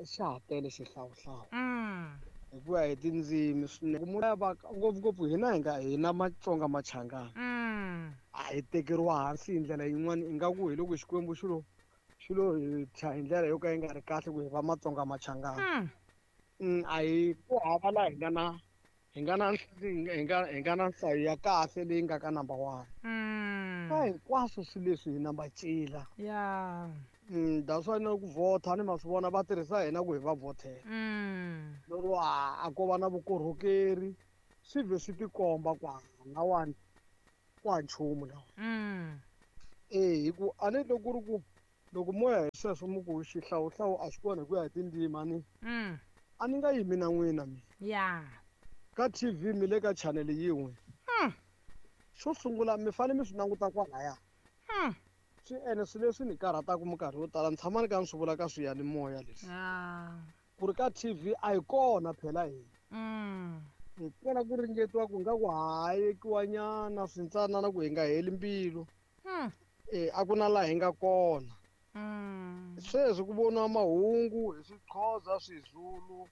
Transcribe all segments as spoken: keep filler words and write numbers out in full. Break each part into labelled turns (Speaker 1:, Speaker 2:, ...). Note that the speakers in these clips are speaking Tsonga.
Speaker 1: Xa ha tele xihlawuhlawu.
Speaker 2: Mm.
Speaker 1: Hi ku ya hi tindzimi swinene. Ku munhu va ngopfungopfu hina hi nga hina Matsonga Machangana.
Speaker 2: Mm.
Speaker 1: A hi tekeriwa hansi hi ndlela yin'wana ingaku hi loko Xikwembu xi lo xi lo hi thya hi ndlela yo ka yi nga ri kahle ku hi va Matsonga Machangana.
Speaker 2: Mm.
Speaker 1: Mm, a hi ku hava laha hi nga na hi nga na hi nga hi nga na nhlayo ya kahle leyi nga ka number one.
Speaker 2: Mm.
Speaker 1: Ka hinkwaswo swilo leswi hi namba cila.
Speaker 2: Yeah.
Speaker 1: Mm, that's why na ku vhota ni ma swi vona va tirhisa hina ku hi va vhotela.
Speaker 2: Mm.
Speaker 1: Lero a a ko va na vukorhokeri swi vhe swi tikomba ku lawani ku ha nchumu lawa.
Speaker 2: Mm.
Speaker 1: Eh hi ku a ni loko ku ri ku loko moya hi sweswo mi ku xihlawuhlawu a xi kona hi ku ya hi tindzimi a ni
Speaker 2: Mm.
Speaker 1: a ni nga yimi na n'wina mina.
Speaker 2: Yeah.
Speaker 1: Ka T V mi le ka channel yin'we.
Speaker 2: Mm.
Speaker 1: Xo sungula mi fanele mi swi languta kwalaya.
Speaker 2: Mm.
Speaker 1: Swi ene swilo leswi ni karhataka minkarhi yo tala ni tshama ni kha ni swi vula ka swiyanimoya leswi.
Speaker 2: Yeah.
Speaker 1: Ku ri ka T V a hi kona phela hina.
Speaker 2: Mm.
Speaker 1: Hi kona ku ringetiwa ku nga ku hayekiwa nyana swintsanana ku hi nga heli mbilu.
Speaker 2: Mm.
Speaker 1: Eh, a ku na laha hi nga kona.
Speaker 2: Mm.
Speaker 1: Sweswi ku voniwa mahungu hi Swiqhoza, Swizulu,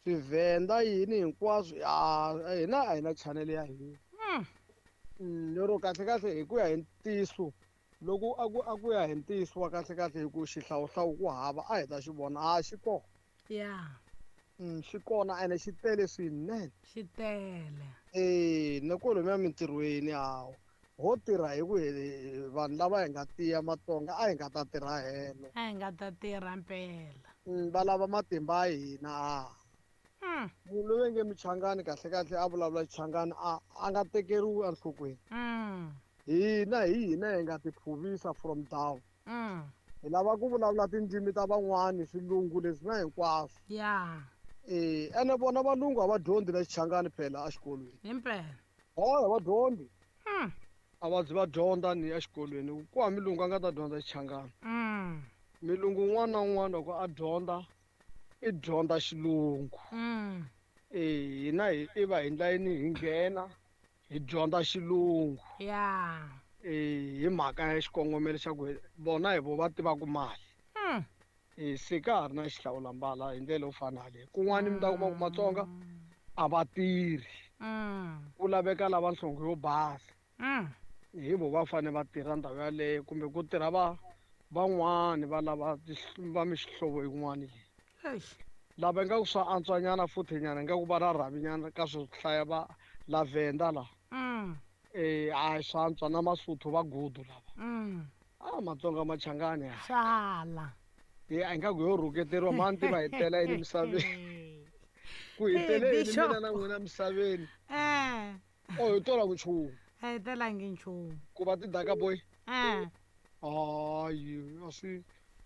Speaker 1: Swivhenda yini hinkwaswo. Ya, hina a hi na channel ya hina.
Speaker 2: Mm.
Speaker 1: Mm, lero kahle kahle hi ku ya hi ntiyiso loko a ku a ku ya hi ntiyiso wa kahle kahle hi ku xihlawuhlawu ku hava a hi ta xi vona a xi kona.
Speaker 2: Yeah.
Speaker 1: Mm, xi kona ene xi tele swinene.
Speaker 2: Xi tele.
Speaker 1: Eh, na kwalomuya mintirhweni hawu ho tirha hi ku hi vanhu lava hi nga tiya Matsonga a hi nga ta tirha helo.
Speaker 2: A hi nga ta tirha mpela.
Speaker 1: Mm, va lava matimba ya hina a.
Speaker 2: Mm.
Speaker 1: Munhu loyi nge Michangani kahle kahle a vulavula Xichangani a a nga tekeriwi enhlokweni.
Speaker 2: Mm.
Speaker 1: Hina hi hina hi nga tiphuvisa from down.
Speaker 2: Mm.
Speaker 1: Hi lava ku vulavula tindzimi ta van'wani swilungu leswi na hinkwaswo.
Speaker 2: Yeah.
Speaker 1: Eh, ene vona valungu a va dyondzi na Xichangani phela exikolweni.
Speaker 2: Himpela.
Speaker 1: Hayi, a va dyondzi.
Speaker 2: Mm.
Speaker 1: A va zi va dyondza ni exikolweni. Ku hava milungu a nga ta dyondza Xichangani.
Speaker 2: Mm.
Speaker 1: Milungu un'wana na un'wana loko a dyondza i dyondza xilungu.
Speaker 2: Mm.
Speaker 1: Eh, hina hi i va hi ndla yini hi nghena hi dyondza xilungu.
Speaker 2: Yeah.
Speaker 1: Eh, hi mhaka ya xikongomelo xa ku vona hi vo va tivaka mali.
Speaker 2: Mm.
Speaker 1: Eh, se ka ha ri na xihlawulambala hi ndlela yo fana yaleyo. Kun'wani mi ta kuma ku Matsonga a va tirhi.
Speaker 2: Mm.
Speaker 1: Ku laveka lava nhlonge yo basa.
Speaker 2: Mm.
Speaker 1: Hi vo va fanele va tirha ndhawu yaleyo kumbe ku tirha va van'wani va lava va mihlovo yin'wani leyi.
Speaker 2: Eish.
Speaker 1: Lava ingaku swa antswanyana futhi nyana ingaku va na rhavinyana ka swo hlaya va Lavenda la.
Speaker 2: Mm.
Speaker 1: Eh, a swa antswa na Masotho va gudu lava.
Speaker 2: Mm.
Speaker 1: Ah, Matsonga Machangani ya.
Speaker 2: Sala.
Speaker 1: Eh, a ingaku yo rhuketeriwa mani tiva hi tela yini misaveni. Ku hi tele yini
Speaker 2: Bishop.
Speaker 1: mina na n'wina misaveni.
Speaker 2: Eh.
Speaker 1: Oh, hi tola ku nchumu.
Speaker 2: A hi telangi nchumu.
Speaker 1: Ku va tidaka boy.
Speaker 2: Eh.
Speaker 1: Hayi, a swi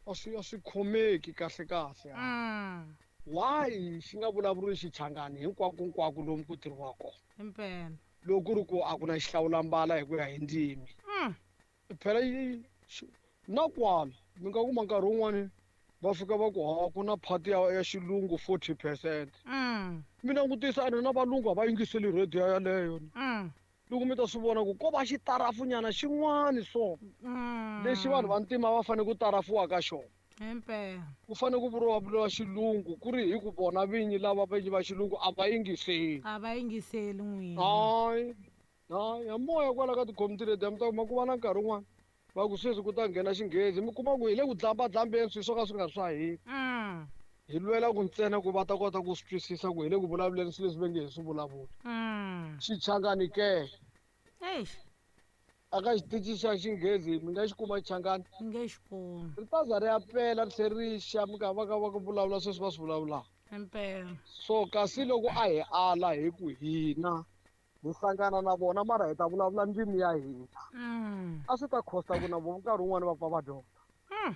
Speaker 1: a swi a swi khomeki kahle kahle.
Speaker 2: Mm.
Speaker 1: Why xi nga vulavuriwi Xichangani hinkwako hinkwako lomu ku tirhiwaka kona?
Speaker 2: Himpela.
Speaker 1: Loko ku ri ku a ku na xihlawulambala hi ku ya hi ndzimi.
Speaker 2: Mm.
Speaker 1: Phela yi xi na kwala mi nga kuma nkarhi wun'wani va fika va ku ha ku na phati ya, ya xilungu forty percent.
Speaker 2: Mm.
Speaker 1: Mi langutisa ene na valungu a va yingiseli radio yaleyo.
Speaker 2: Mm.
Speaker 1: Loko mi ta swi vona ku ko va xitarafunyana xin'wani so.
Speaker 2: Mm.
Speaker 1: Lexi vanhu va ntima va fanele ku tarafuwa ka xona.
Speaker 2: Himpela.
Speaker 1: Ku fanele ku vuriwa vuriwa xilungu ku ri hi ku vona vinyi lava vinyi va xilungu a va yingiseli.
Speaker 2: A va yingiseli n'wina.
Speaker 1: Hayi. Hayi, ya moya kwala ka ti-community radio mi ta kuma ku va na nkarhi wun'wani va ku sweswi ku ta nghena xinghezi mi kuma ku hi le ku dlambadlambeni swilo swo ka swi nga ri swa hina.
Speaker 2: Mm.
Speaker 1: Hi lwela ku ntsena ku va ta kota ku swi twisisa ku hi le ku vulavuleni swilo leswi va nge hi swi vulavuli.
Speaker 2: Mm.
Speaker 1: Xichangani ke?
Speaker 2: Eish.
Speaker 1: A ka xitichi xa xinghezi mi nga xi kuma Xichangani?
Speaker 2: Mi nge xi kumi.
Speaker 1: Ri ta za ri ya pela ri tlhela ri xa mi ka va ka va ku vulavula sweswi va swi vulavulaka.
Speaker 2: Himpela.
Speaker 1: So kasi loko a hi ala hi ku hina hi hlangana na vona mara hi ta vulavula ndzimi ya hina.
Speaker 2: Mm.
Speaker 1: A swi ta costa ku na vona nkarhi wun'wani va pfa va dyondza.
Speaker 2: Mm.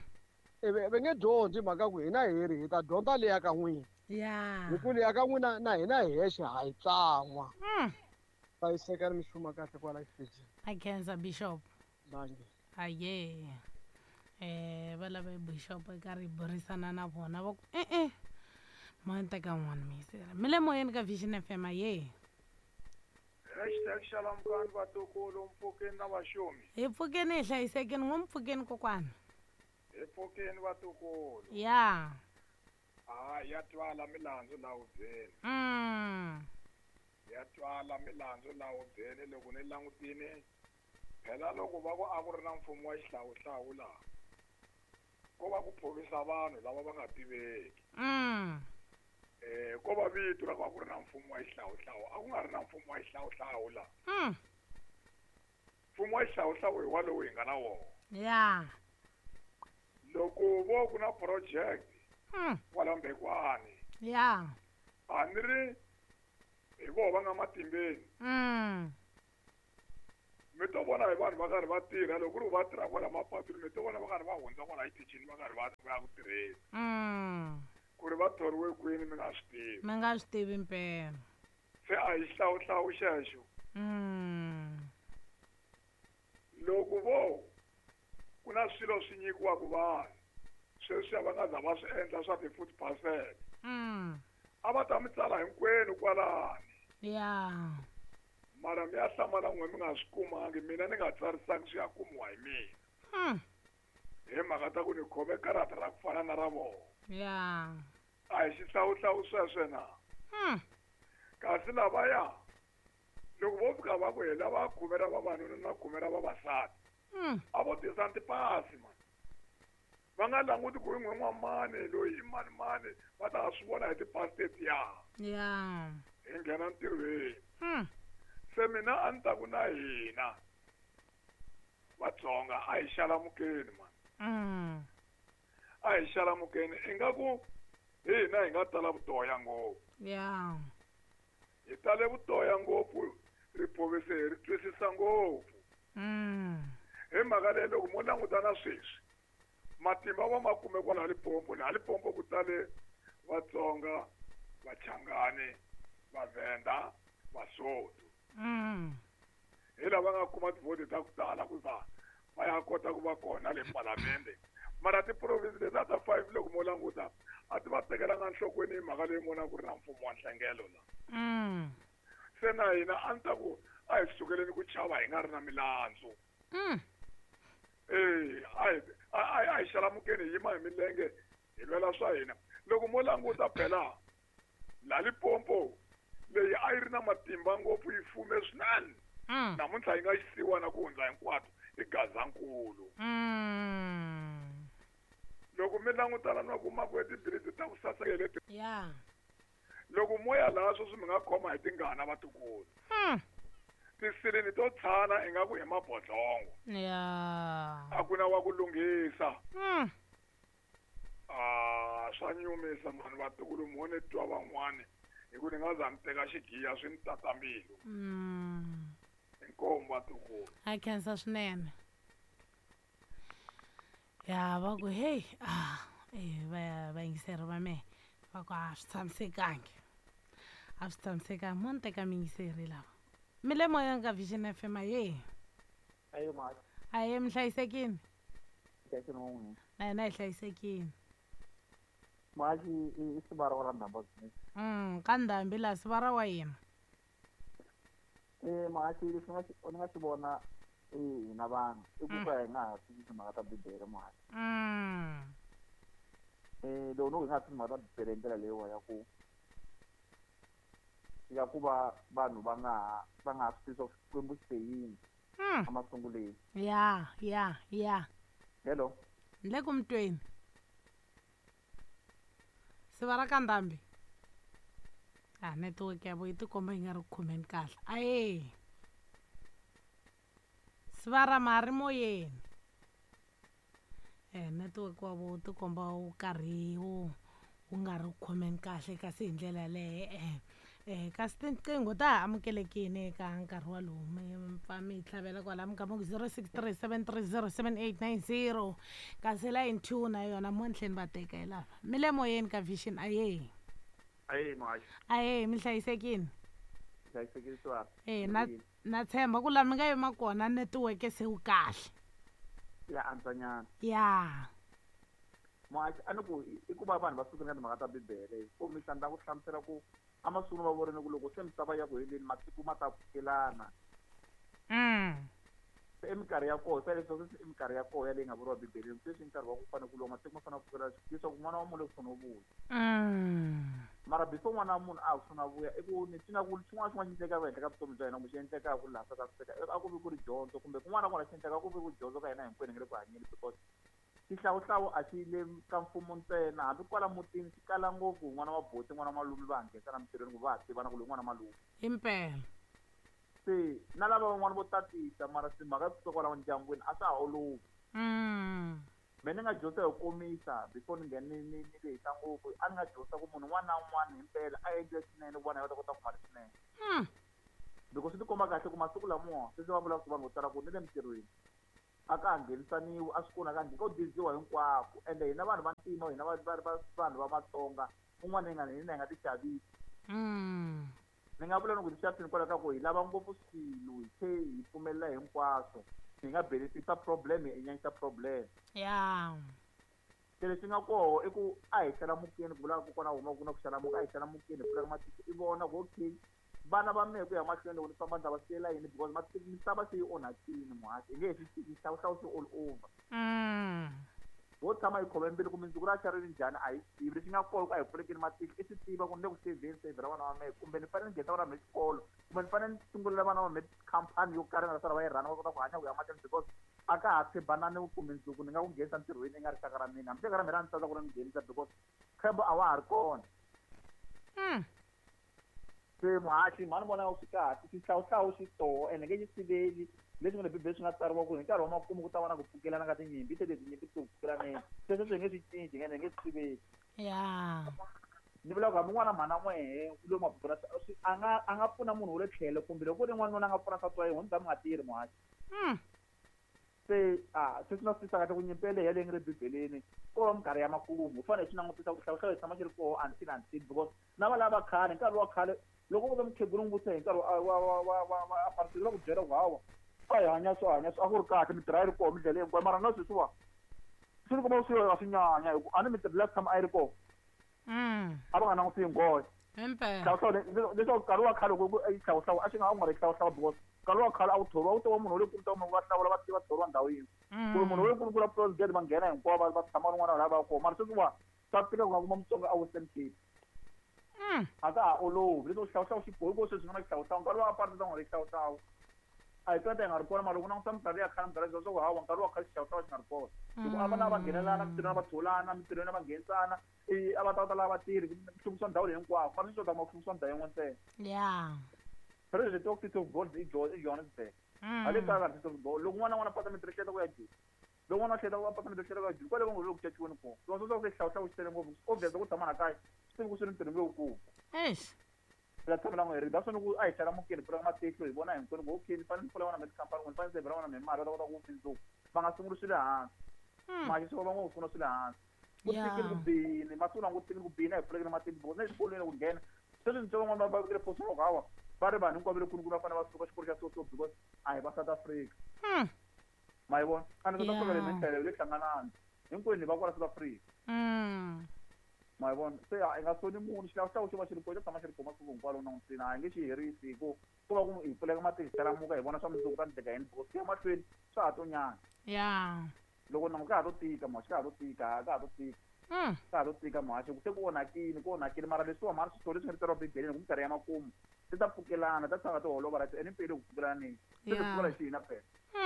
Speaker 1: E va nge dyondzi hi mhaka ku hina hi ri hi ta dyondza leya ka n'wina.
Speaker 2: Yeah.
Speaker 1: Hi ku leya ka n'wina na hina hi hexe ha yi tsan'wa.
Speaker 2: Mm.
Speaker 1: Hlayiseka ni mixuma kahle kwala xitichini.
Speaker 2: A khensa Bishop.
Speaker 1: Dankie.
Speaker 2: Aye. Eh, va lava Bishop eka ri burisana na vona va ku eh eh. Mo teka n'wana miyisela. Mi le moyeni ka Vision F M aye.
Speaker 3: Hashtag xalamukani vatukulu mpfukeni na vaxumi.
Speaker 2: Hi pfukeni hi hlayisekeni n'wi mpfukeni kokwana.
Speaker 3: Hi pfukeni vatukulu.
Speaker 2: Yeah.
Speaker 3: Ah, ya twala milandzu laha hubyeni.
Speaker 2: Mm.
Speaker 3: Ya twala milandzu laha hubyeni loko ni langutile phela loko va ku a ku ri na mfumo wa xihlawuhlawu laha ko va ku phovisa vanhu lava va nga tiveki.
Speaker 2: Mm.
Speaker 3: Eh ko va vito ra ku a ku ri na mfumo wa xihlawuhlawu a ku nga ri na mfumo wa xihlawuhlawu laha.
Speaker 2: Mm.
Speaker 3: Mfumo wa xihlawuhlawu hi walowu hi nga na wona.
Speaker 2: Ya.
Speaker 3: Loko vo ku na project
Speaker 2: Mm.
Speaker 3: kwala Mbekwani.
Speaker 2: Ya.
Speaker 3: A ni ri hi voho va nga matimbeni.
Speaker 2: Mm.
Speaker 3: Mi to vona hi vanhu va karhi va tirha loko ku ri va tirha kwala mapatwini mi to vona va karhi va hundza kwala xitichini va karhi va va ya ku tirheni.
Speaker 2: Mm.
Speaker 3: Ku ri va thoriwe kwini mi nga swi tivi.
Speaker 2: Mi nga swi tivi mpela.
Speaker 3: Se a hi xihlawuhlawu xexo.
Speaker 2: Mm.
Speaker 3: Loko vo ku na swilo swi nyikiwaka vanhu sweswiya va nga za va swi endla swa ti-food parcel.
Speaker 2: Mm.
Speaker 3: A va ta mi tsala hinkwenu kwalani.
Speaker 2: Ya.
Speaker 3: Mara mi ya hlamala n'we mi nga swi kumangi mina ni nga tsarisangi swi ya kumiwa hi mina.
Speaker 2: Mm.
Speaker 3: Hi mhaka ta ku ni khome karata ra ku fana na ra vona.
Speaker 2: Ya.
Speaker 3: A hi xihlawuhlawu sweswo na.
Speaker 2: Mm.
Speaker 3: Kasi lavaya loko vo fika va ku hi lava khume ra vavanuna na khume ra vavasati.
Speaker 2: Mm.
Speaker 3: A vo tisa tipasi man. Va nga languti ku i n'we n'wamani loyi i mani mani va ta swi vona hi tipasi tetiya.
Speaker 2: Ya.
Speaker 3: Hi nghena ntirhweni.
Speaker 2: Mm.
Speaker 3: Se mina a ni ta ku na hina Vatsonga a hi xalamukeni man.
Speaker 2: Mm.
Speaker 3: A hi xalamukeni ingaku hi hina hi nga tala vutoya ngopfu.
Speaker 2: Ya.
Speaker 3: Hi tale vutoya ngopfu riphovisi hi ri twisisa ngopfu.
Speaker 2: Mm.
Speaker 3: Hi mhaka leyi loko mo langutana sweswi matimba va ma kume kwala Limpopo laha Limpopo ku tale Vatsonga, Vachangani, Vavhenda, Vasotho.
Speaker 2: Mm.
Speaker 3: Hi lava nga kuma tivhoti ta ku tala ku va va ya kota ku va kona le palamende. Mara ti-province letiya ta five loko mo languta a ti va tekelanga enhlokweni hi mhaka leyi mona ku ri na mfumo wa nhlengelo la.
Speaker 2: Mm.
Speaker 3: Se na hina a ni ta ku a hi sukeleni ku chava hi nga ri na milandzu.
Speaker 2: Mm.
Speaker 3: Eh, a hi a a hi xalamukeni hi yima hi milenge hi lwela swa hina. Loko mo languta phela la Limpopo leyi a yi ri na matimba ngopfu yi fume swinene.
Speaker 2: Mm.
Speaker 3: Namuntlha yi nga xisiwana ku hundza hinkwato i Gazankulu.
Speaker 2: Mm.
Speaker 3: Loko mi langutana na kuma ku tibiriti ta ku saseka leti.
Speaker 2: Ya.
Speaker 3: Loko mo ya laha sweswi mi nga khoma hi tingana vatukulu.
Speaker 2: Mm.
Speaker 3: Tisilini to tshana ingaku hi mabodlongo.
Speaker 2: Ya.
Speaker 3: A ku na wa ku lunghisa.
Speaker 2: Mm.
Speaker 3: Ah, swa nyumisa mhani vatukulu mo ni twa van'wani hi ku ni nga za ni teka xigiya swi ni tata mbilu.
Speaker 2: Mm.
Speaker 3: Inkomu vatukulu.
Speaker 2: A khensa swinene. Ya va ku hey ah eh va vayingiseri va mehe va ku a swi tshamisekangi. A swi tshamisekangi mo ni teka miyingiseri lava. Mi le moyeni ka Vision F M aye.
Speaker 4: Ayo ma.
Speaker 2: Aye mi hlayisekile.
Speaker 4: Hlayisekile n'wina.
Speaker 2: Na hina hi hlayisekile.
Speaker 4: Mhaxi i sivara wa ra Ndhambi.
Speaker 2: Mm, ka Ndhambi laha sivara wa yena.
Speaker 4: Eh mhaxi leswi nga ni nga swi vona hina vanhu i ku ka hi nga ha swi timhaka ta Bibele mhaxi.
Speaker 2: Mm.
Speaker 4: Eh loko no hi nga ha swi timhaka ta Bibele hi ndlela leyiwa ya ku ya ku va vanhu va nga ha va nga ha swi tivi swa ku Xikwembu xi te yini
Speaker 2: Mm.
Speaker 4: emasunguleni.
Speaker 2: Ya, ya, ya.
Speaker 4: Hello.
Speaker 2: Ni le ku mi tweni. Sivara ka Ndhambi. Ah, network ya vo yi tikomba yi nga ri ku khomeni kahle. Aye. Sivara ma ha ri moyeni. Eh network wa vo wu tikomba wu karhi wu wu nga ri ku khomeni kahle kasi hi ndlela yaleyo eh eh kasi tinqingho ta ha amukelekile eka nkarhi walowu mi pfa mi hi tlhavela kwala mi gama ku zero six three seven three zero seven eight nine zero kasi line two na yona mo ni tlheni va teka hi lava mi le moyeni ka Vision aye.
Speaker 4: Aye mhaxi.
Speaker 2: Aye mi hlayisekile.
Speaker 4: Hlayisekile swa.
Speaker 2: Eh na na tshemba ku laha mi nga yima kona network se wu kahle.
Speaker 4: Ya antswanyana.
Speaker 2: Ya.
Speaker 4: Mhaxi a ni ku i ku va vanhu va sukela timhaka ta Bibele kombisa ni ta ku hlamusela ku amasungulweni va vorile ku loko se misava ya ku heleni matiko ma ta pfukelana.
Speaker 2: Mm.
Speaker 4: Se i minkarhi ya koho se leswi i minkarhi ya koho yaleyi nga vuriwa bibeleni sweswi i nkarhi wa ku fanele ku lwa matiko ma fanele ku pfukela leswaku n'wana wa munhu loko no vuya. Mara before n'wana wa munhu a ha sungula vuya i ku ni swi nga ku xin'wana na xin'wana xi endlekaka ehenhla ka vutomi bya hina kumbe xi endlekaka laha South Africa a ku vi ku ri dyondzo kumbe kun'wana na kun'wana xi endleka ku vi ku dyondzo ka hina hinkwenu hi nga le ku hanyeni because xihlawuhlawu a xi le ka mfumo ntsena hambi kwala mutini xi kala ngopfu n'wana wa buti n'wana wa malume va ha nghenisa na mintirhweni ku va ha tivana ku loyi n'wana malume.
Speaker 2: Impela.
Speaker 4: Se na lava van'wana vo tatisa mara timhaka kusuka kwalaho ndyangwini a swa ha olovi. Me ni nga dyondza hi komisa before ni nghena ni ni ni lehisa ngopfu a ni nga dyondza ku munhu un'wana na un'wana himpela a endle swinene ku vona va ta kota ku kuma leswinene. Because swi ti komba kahle ku masiku lamawa sweswi va vulaka ku vanhu vo tala ku ni le mintirhweni a ka ha nghenisaniwi a swi kona ka ko diziwa hinkwako ende hina vanhu va ntima hina va va vanhu va Matsonga un'wana hi nga hina hi nga ti xavisi. Ni nga vula ni ku ti xaviseni kwalaho ka ku hi lava ngopfu swilo hi tlhe hi pfumelela hinkwaswo hi nga benefita problem hi nyanyisa problem.
Speaker 2: Ya.
Speaker 4: Se leswi nga koho i ku a hi xalamukeni ku vulaka kokwana huma ku na ku xalamuka a hi xalamukeni hi pfulaka matihlo i vona ku okay vana va mehe ku ya mahlweni loko ni famba ni ta va siyela yini because misava se yi onhakile muhaxi hi nge he swi tiki xihlawuhlawu xi all over. Ho tshama hi khome mbilu ku mundzuku ra xa ri njhani a hi tivi lexi nga koho ku a hi pfulekeni matihlo i swi tiva ku ni le ku sevheni sevhela vana va mehe kumbe ni fanele ni nghenisa vana va mehe xikolo kumbe ni fanele ni sungulela vana va mehe khampani yo karhi nga ta sala va yi rhana va kota ku hanya ku ya mahlweni because a ka ha tshembanani ku mundzuku ni nga ku nghenisa ntirhweni i nga rixaka ra mina hambi rixaka ra mina ra ni tsandza ku ri ni nghenisa because ntshembo a wa ha ri kona. Se muhaxi mhani vona swi kahle xihlawuhlawu xi toho ende nge xi siveli leswi nga le bibele swi nga tsariwa ku hi nkarhi wa makumu ku ta va na ku pfukelana ka tinyimpi te leti tinyimpi ti ku pfukelaneni sweswo swi nge swi cinci ende nge swi siveli.
Speaker 2: Ya.
Speaker 4: Ni vula ku hambi n'wana mhana n'wehe lowu mapurasi a nga a nga pfuna munhu wa le tlhelo kumbe loko ku ri n'wanuna a nga pfuna nsati wa yena mi ta mi nga tirhi muhaxi. Se a se swi na swi tisa kahle ku nyimpi yeleyo yaleyi nga le bibeleni ko va minkarhi ya makumu u fanele hi swi langutisa ku xihlawuhlawu hi tshama xi ri koho until until because na va lava khale nkarhi wa khale loko u ve mukhegula n'wi vutisa hi nkarhi wa wa wa wa wa wa apartheid va ku byela ku hawa a hi hanya swo hanya swo a ku ri kahle mintirho a yi ri koho mindlela hinkwayo mara na sweswiwa swi ni kuma swi a swi nyanya hi ku a ni mintirho leyi tshama a yi ri koho a va nga langutisi nghohe. Xihlawuhlawu leswaku nkarhi wa khale loko i xihlawuhlawu a xi nga a ku nga ri xihlawuhlawu because nkarhi wa khale a wu thoriwa wu tiva munhu wa le kulu ta munhu va hlawula va tiva thoriwa ndhawu yin'we kumbe munhu wa le kulu kula president va nghena hinkwavo va tshama rin'wana laha va kona mara sweswiwa swa tika ku nga kuma Mutsonga a Western Cape. A ka ha olovi leswaku xihlawuhlawu xi bohi ko sweswi nga na xihlawuhlawu nkarhi wa apartheid a ku nga ri xihlawuhlawu a hi twa hi nga ri kona mara loko languta minkarhi ya khale minkarhi ya swa ku hawa nkarhi wa khale xihlawuhlawu xi nga ri kona hikuva a va na va nghenelana mintirhweni va tholana mintirhweni va nghenisana a va ta va ta lava vatirhi ku hluvukisa ndhawu leyi hinkwako mara sweswi u ta kuma ku hluvukisiwa ndhawu yin'we ntsena.
Speaker 2: Ya.
Speaker 4: President wa City of Gold i Johannesburg. A le kaya City of Gold loko n'wana n'wana pata mintirho hleta ku ya Joni loko n'wana hleta ku pata mintirho hleta ku ya Joni kwale va ngo le ku caciweni kona loko swa ku xihlawuhlawu xi tele ngopfu obvious ku tshama na kaya swi tivi ku swi ri ntirho lowukulu.
Speaker 2: Eish.
Speaker 4: La tshamela n'we ri that's ku a hi xalamukeni pfula matihlo hi vona hinkwenu ku okay ni fanele ni pfula vana mi tikhampani ni fanele ni sevhela vana mi mali va ta kota ku mundzuku va nga sunguli swi le hansi mali swi va ngo sungula swi le hansi ku tikile ku bini masiku lawa ku tikile ku bini a hi pfulekile matihlo because na exikolweni ku nghena sweswi ntsongo van'wana va vekele post loko hawa va ri vanhu hinkwavo le kunukunu va fanele va suka xikolo xa so so because a hi va South Africa. Ma yi vona a ni South Africa leyi mintlhelo le hlanganani hinkwenu hi va kwala South Africa. Ma yi vona se a hi nga soni munhu xihlawuhlawu xi va xi ri kona xo tshama xi ri kona masiku hinkwawo lowu langutini a hi nge xi herisi hi ku ku va ku hi pfuleka matihlo hi xalamuka hi vona swa mundzuku ta ndleka yini because ku ya mahlweni swa ha to nyanya.
Speaker 2: Ya.
Speaker 4: Loko nangu ka ha to tika muhaxi ka ha to tika ka ha to tika ka ha to tika muhaxi se ku onhakile ku onhakile mara leswiwa mara swilo leswi nga tsariwa bibeleni ku minkarhi ya makumu ti ta pfukelana ta tshama ti holova right ene mpeli ku pfukelaneni se ti pfukela hi xihina phela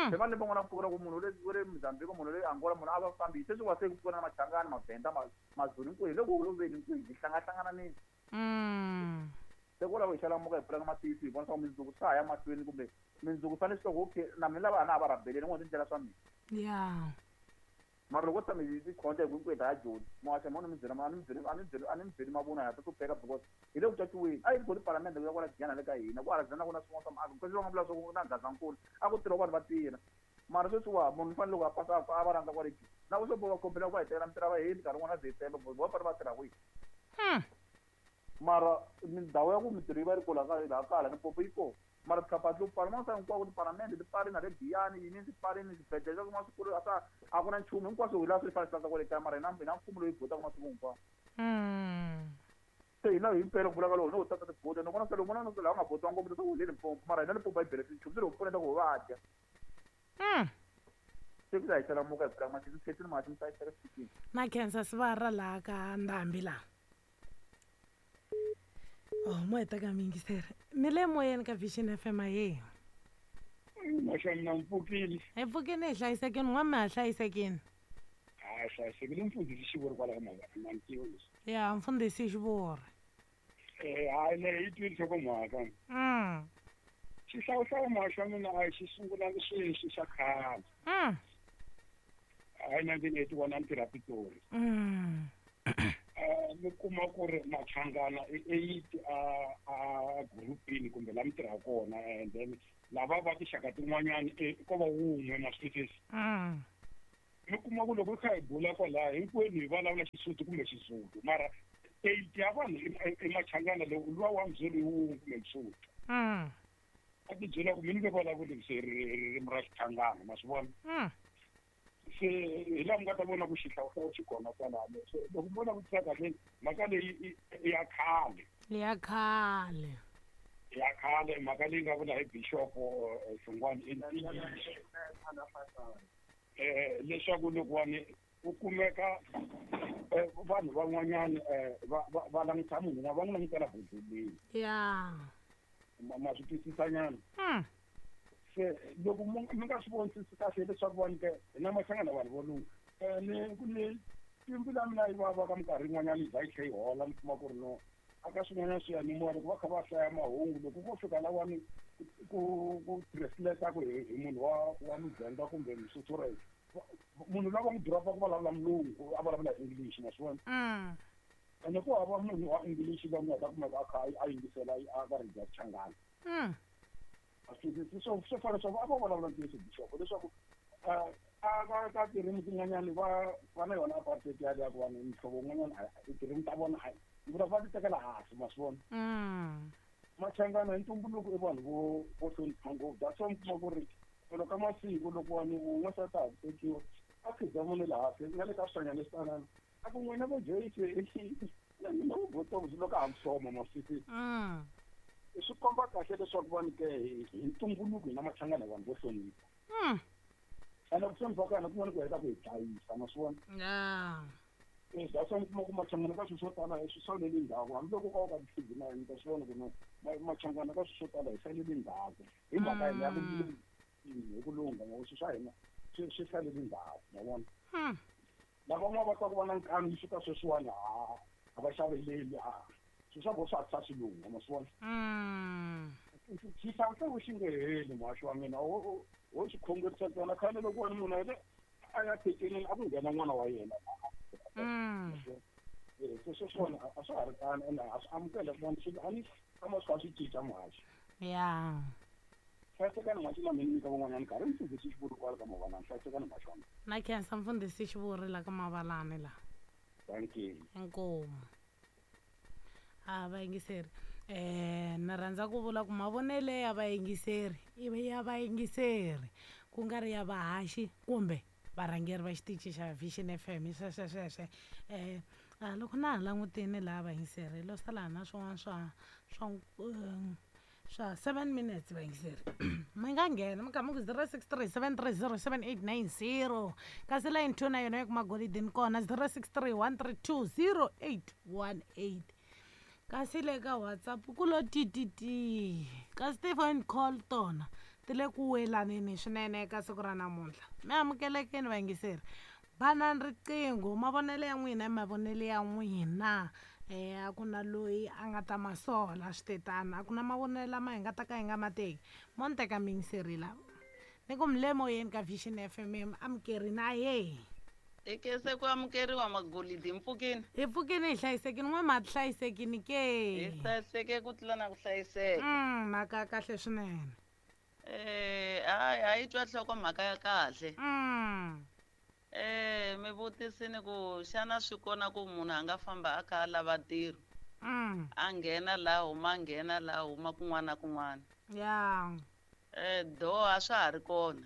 Speaker 4: se va lembe n'wana ku pfukela ku munhu wa le Mozambique munhu wa le Angola munhu a va fambisi sweswi wa se ku pfukela na Machangani Mavhenda Mazulu hinkwenu hi le ku holoveni hinkwenu hi hlangahlangananeni. Se kwalaho hi xalamuka hi pfuleka matihlo hi vona swa ku mundzuku swa ha ya mahlweni kumbe mundzuku fanele swi ku okay na mina lava na a va rhabeleni n'wana tindlela swa mina.
Speaker 2: Ya.
Speaker 4: Mara loko tshame hi tikhonta hi hinkwenu ha Joni muhaxi mona mi byela a ni byeli a ni byeli a ni byeli mavunwa ya ta hlupheka because hi le ku caciweni a yi ri palamende ku ya kwala Giyani le ka hina ku Alexander ku na swin'wana swa miako kasi va nga vula swa ku na Gazankulu a ku tirha vanhu va tirha mara sweswiwa munhu u fanele loko a pasa a va rhandza kwale Joni na ku swo va kombela ku va hi tekela mintirho va heli nkarhi wun'wana na ze hi tshemba because va fanele va tirha kwihi. Mara mindhawu ya ku mintirho yi va yi ri kona laha kala Limpopo yi kona mara tikhampani to pfala man'wana hinkwako tipalamende ti pfarile na le Giyani yini ti pfarile swibedhlele swa swin'wana swikulu a swa a ku na nchumu hinkwaswo hi laha swi fanele swi landza kwale kaya mara hina hina mfumo loyi botaka masiku hinkwawo. Se hina hi mpela ku vulaka loko no tata tibota ni vona se loko vona laha nga botiwa ngopfu leswaku hi le Limpopo mara hina Limpopo a yi benefit nchumu se loko pfuneta ku va dya.
Speaker 2: Mm.
Speaker 4: Se ku ta hi xalamuka hi pfula matihlo khetini mati mi hlayiseka swikini.
Speaker 2: Na khensa sivara laha ka ndhambi laha. Oh, mo heta ka miyingiseri. Mi le moyeni ka Vision F M ahe.
Speaker 5: Maxa mina mpfukile.
Speaker 2: Hi pfukile hi hlayisekile, n'wa mi ha hlayisekile.
Speaker 5: Ha hlayisekile mfundhisi Xivuri kwala ka Mavana ntivo leswi.
Speaker 2: Ya, mfundhisi Xivuri.
Speaker 5: Eh, hayi ne yi twile nhlokomhaka.
Speaker 2: Mm.
Speaker 5: Xihlawuhlawu maxa mina a xi sungulanga sweswi xa khale.
Speaker 2: Mm.
Speaker 5: Hi nineteen eighty-one a ni tirha Pitori.
Speaker 2: Mm.
Speaker 5: Eh, mi kuma ku ri Machangana i eight a a groupini kumbe la mi tirha kona, and then lava va tinxaka tin'wanyani ko va wun'we ma swi twisisa.
Speaker 2: Mm.
Speaker 5: Mi kuma ku loko hi kha hi bula kwalaya hinkwenu hi vulavula Xisuthu kumbe Xizulu, mara eight ya vanhu i Machangana lowu luwa wa Mzulu hi wun'we kumbe Msuthu.
Speaker 2: Mm.
Speaker 5: A ti byela ku mi ni nge vulavuli se ririmi ra Xichangana, ma swi vona?
Speaker 2: Mm.
Speaker 5: Se hi laha mi nga ta vona ku xihlawuhlawu xi kona kwalano. Se loko mi vona ku tisa kahle mhaka leyi i ya khale.
Speaker 2: Ya khale.
Speaker 5: Ya khale mhaka leyi nga vula hi Bishop Hlongwane i ntiyiso. Eh leswaku loko wani ku kumeka vanhu van'wanyana va va langutisa munhu va n'wi langutela bodleleni.
Speaker 2: Ya.
Speaker 5: Ma swi twisisanyana.
Speaker 2: Mm.
Speaker 5: Se loko mi nga swi vonisisi kahle leswaku vanhu ke hina Machangana vanhu vo lungha. Eh ni ku ni timbilu ya mina yi vava ka minkarhi yin'wanyana yi za yi tlhe yi hola mi kuma ku ri no aka swin'wanyana swiyanimoya loko va kha va hlaya mahungu loko ko fika lawani ku ku translate ku hi munhu wa wa Muvenda kumbe Msotho ra munhu lava n'wi dropa ku vulavula mulungu a vulavula English ma swi vona.
Speaker 2: Mm.
Speaker 5: Ene ku hava munhu wa English loyi nga ta kumeka a kha a yingisela a ka radio ya Xichangana.
Speaker 2: Mm.
Speaker 5: Swi swo fana swa a va vulavula ntiyiso Bishop leswaku a ka ka tirimi tin'wanyani va va na yona apartheid ya liya ku vanhu mihlovo wun'wanyana tirimi ta vona a vula va ti tekela hansi ma swi vona.
Speaker 2: Mm.
Speaker 5: Machangana hi ntumbuluko i vanhu vo vo hlonipha ngopfu. That's why mi kuma ku ri loko ka masiku loko vanhu wun'we swa ta ha tekiwa a khidzamuni laha hansi na le ka switanyana leswi tanana a ku n'wina vo Joyce na mina vo Botox loko a ha musoma ma swi twisisa.
Speaker 2: Mm.
Speaker 5: Swi komba kahle leswaku vanhu ke hi ntumbuluko hina Machangana vanhu vo hlonipha.
Speaker 2: Mm.
Speaker 5: Ene ku hlonipha ka hina kun'wana ku heta ku hi dlayisa ma swi vona.
Speaker 2: Ya.
Speaker 5: Eh that's why mi kuma ku Machangana ka swilo swo tala hi swi salele ndzhaku hambiloko ka ka ti na yini ta swi vona ku no Machangana ka swilo swo tala hi salele ndzhaku hi mhaka hina ya ku hi ku lungha ngoba swilo swa hina swi swi salele ndzhaku ma vona.
Speaker 2: Mm.
Speaker 5: Lava va ta ku va na nkani yi fika sweswiwani ha a va xaveleli a swilo swa vona swa hatla swi lungha ma swi vona.
Speaker 2: Mm.
Speaker 5: Xihlawuhlawu xi nge heli muhaxi wa mina wo wo xi khongerisa ntsena khale loko wena munhu a a ya thekenini a ku nghena n'wana wa yena.
Speaker 2: Mm.
Speaker 5: Eh se sweswiwani a swa ha ri tano ene a swi amukela vanhu swi a ni tshama swi kha swi cinca muhaxi.
Speaker 2: Ya.
Speaker 5: Hlayisekani muhaxi na mina nyika van'wanyana nkarhi mfundhisi Xivuri kwala ka Mavalani hlayisekani muhaxi wa mina.
Speaker 2: Na khensa mfundhisi Xivuri la ka Mavalani la.
Speaker 5: Thank you.
Speaker 2: Inkomu. A vayingiseri eh na rhandza ku vula ku mavonele ya vayingiseri i ya vayingiseri ku nga ri ya vahaxi kumbe varhangeri va xitichi xa Vision F M sweswe sweswe eh loko na ha langutini laha vayingiseri lo sala na swin'wana swa swa swa seven minutes vayingiseri mi nga nghena mi kha mi ku zero six three seven three zero seven eight nine zero kasi line two na yona ya kuma golidini kona zero six three one three two zero eight one eight kasi le ka WhatsApp ku lo tititi kasi ti-phone call tona ti le ku welaneni swinene eka siku ra namuntlha. Mi amukelekeni vayingiseri banani riqingho mavonelo ya n'wina i mavonelo ya n'wina eh a ku na loyi a nga ta masola swi tetana a ku na mavonelo lama hi nga ta ka hi nga ma teki mo ni teka miyingiseri la ni ku mi le moyeni ka Vision F M amukerini ahe.
Speaker 6: Ekese ku amukeriwa magolidi mpfukini.
Speaker 2: Hi pfukini hi hlayisekini n'we ma hlayisekini ke.
Speaker 6: Hi hlayiseke ku tlula na ku hlayiseka.
Speaker 2: Mm, mhaka ya kahle swinene.
Speaker 6: Eh, hayi a yi twa nhloko mhaka ya kahle.
Speaker 2: Mm.
Speaker 6: Eh, mi vutisini ku xana swi kona ku munhu a nga famba a kha a lava ntirho.
Speaker 2: Mm.
Speaker 6: A nghena laha huma a nghena laha huma kun'wana na kun'wana.
Speaker 2: Ya.
Speaker 6: Eh, do a swa ha ri kona.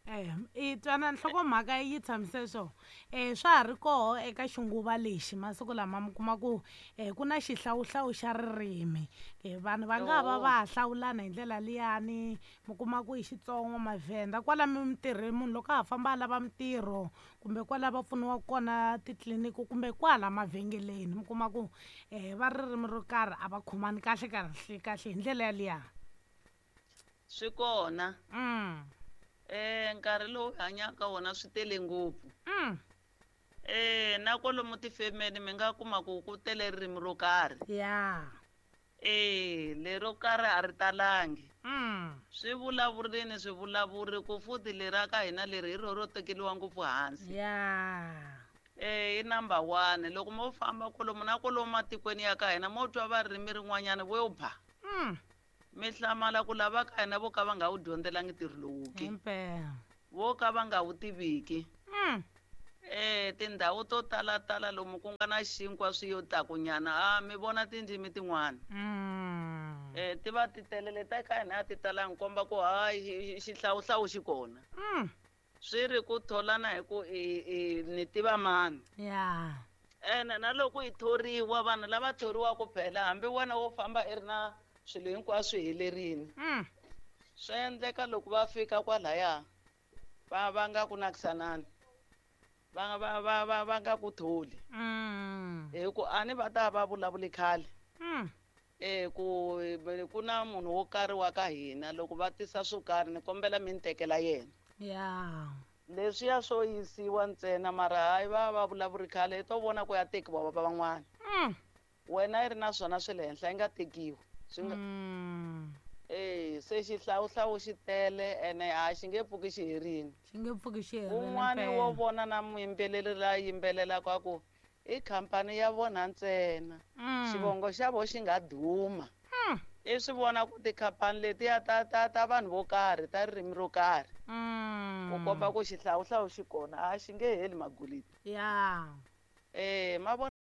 Speaker 2: Eh, i twana nhlokomhaka yi tshamise so eh swa ha ri koho eka xinguva lexi masiku lama mi kuma ku eh ku na xihlawuhlawu xa ririmi. Eh vanhu va nga va va ha hlawulana hi ndlela liyani, mi kuma ku i Xitsonga, Mavhenda kwala mitirhweni munhu loko a ha famba a lava mitirho kumbe kwala va pfuniwaka kona titliliniki kumbe kwala mavhengeleni mi kuma ku eh va ririmi ro karhi a va khomani kahle kahle kahle hi ndlela yaliya.
Speaker 6: Swi kona.
Speaker 2: Mm.
Speaker 6: Eh nkarhi lowu hi hanyaka wona swi tele ngopfu.
Speaker 2: Mm.
Speaker 6: Eh na kwalomu tifemeni mi nga kuma ku ku tele ririmi ro karhi.
Speaker 2: Ya.
Speaker 6: Eh lero karhi a ri talangi.
Speaker 2: Mm.
Speaker 6: Swi vulavurini swi vulavuri ku futhi leri ka hina leri hi rona ro tekeriwa ngopfu hansi.
Speaker 2: Ya.
Speaker 6: Eh i number one loko mo famba kwalomu na kwalomu matikweni ya ka hina mo twa va ririmi rin'wanyana vo ba.
Speaker 2: Mm.
Speaker 6: Mi hlamala ku lava ka hina vo ka va nga wu dyondzelangi ntirho lowu ke.
Speaker 2: Himpela.
Speaker 6: Vo ka va nga wu tiviki.
Speaker 2: Mm.
Speaker 6: Eh tindhawu to tala tala lomu ku nga na xinkwa swi yo takunyana a mi vona tindzimi tin'wana.
Speaker 2: Mm.
Speaker 6: Eh ti va ti telele ta ka hina a ti talangi komba ku hayi xihlawuhlawu xi kona.
Speaker 2: Mm.
Speaker 6: Swi ri ku tholana hi ku i i ni tiva mani.
Speaker 2: Ya.
Speaker 6: Ene na loko hi thoriwa vanhu lava thoriwaka phela hambi wena wo famba i ri na swilo hinkwaswo helerini.
Speaker 2: Mm.
Speaker 6: Swi endleka loko va fika kwalaya va va nga ku nakisanani. Va va va va va nga ku tholi.
Speaker 2: Mm.
Speaker 6: Hi ku a ni va ta va vulavuli khale.
Speaker 2: Mm.
Speaker 6: Eh ku ku na munhu wo karhi wa ka hina loko va tisa swo karhi ni kombela mi ni tekela yena.
Speaker 2: Ya.
Speaker 6: Leswiya swo yisiwa ntsena mara hayi va va vulavuri khale i to vona ku ya tekiwa va van'wana.
Speaker 2: Mm.
Speaker 6: Wena yi ri na swona swi le henhla yi nga tekiwi. Swi nga
Speaker 2: Mm.
Speaker 6: Eh se xihlawuhlawu xi tele ene a xi nge pfuki xi herini.
Speaker 2: Xi nge pfuki xi herini.
Speaker 6: Un'wani wo vona na muyimbeleri la yimbelelaka ku i khampani ya vona ntsena.
Speaker 2: Mm.
Speaker 6: Xivongo xa vo xi nga duma.
Speaker 2: Mm.
Speaker 6: I swi vona ku tikhampani letiya ta ta ta vanhu vo karhi ta ririmi ro karhi.
Speaker 2: Mm.
Speaker 6: Ku komba ku xihlawuhlawu xi kona a xi nge heli maguliti.
Speaker 2: Ya.
Speaker 6: Eh ma vona